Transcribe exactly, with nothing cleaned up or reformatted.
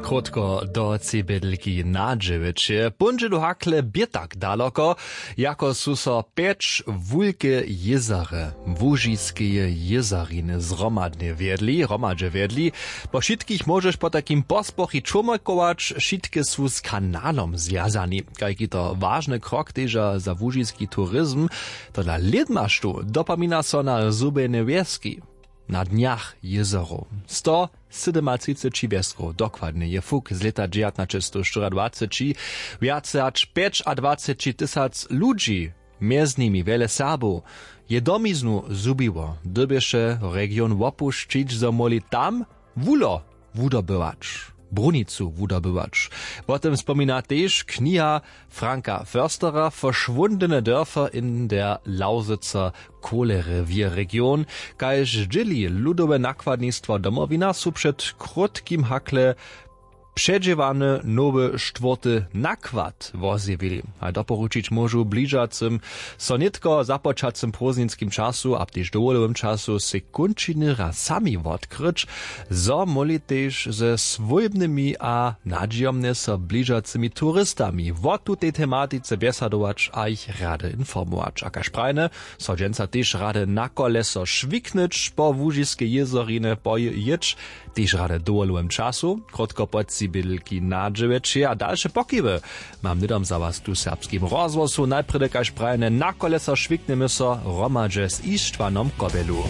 Krótko do cibědlki na dźewjeće póńdźedu hakle bě tak daloko, jako su so pjeć wulke jězary łužiskeje jězariny zhromadnje wjedli hromadźe wjedli. Po wšitkich móžeš potajkim pospochi čłomajkować, wšitke su z kanalom zwjazani. Kajki to wažny krok teža za łužiski turizm. Tola lědmaštu dopomina so na zhubjene wjeski. Na dnjach jězerow sto sydymatřiceći wjeskow dokładnje je fuk z lěta dźewjatnaćestowštyriadwaceći. Wjace hač pjećadwaceći tysac ludźi, mjez nimi wjele Serbow, je domiznu zhubiło, dyrbješe region wopušćić, zo móhli tam wuhlo wudobywać, brunicu wudobywać. Wo tym spomina tež kniha Franka Förstera Verschwundene Dörfer in der Lausitzer Kohlerevierregion. Kaž dźěli ludowe nakładnistwo Domowina, su před krótkim hakle předźěłany nowy štwórty nakład wozjewili. A doporučić móžu bližacym so nětko započacym prózdninskim času a tež dowolowym času sej kónčiny raz sami wotkryć, zo móhli tež ze swójbnymi a nadźijomnje so bližacymi turistami wo tutej tematice bjesadować a jich rady informować. A kaž prajne, so dźensa tež rady na koleso šwiknyć po łužiskej jězorinje pojěć, tež rady w dowolowym času krótko po tři bědlki na dźewjeće a dalše pokiwy. Mam hnydom za was tu w serbskim rozhłosu. Najprjedy kaž prajene na koleso šwiknjemy so hromadźe z Ištwanom Kobjelu.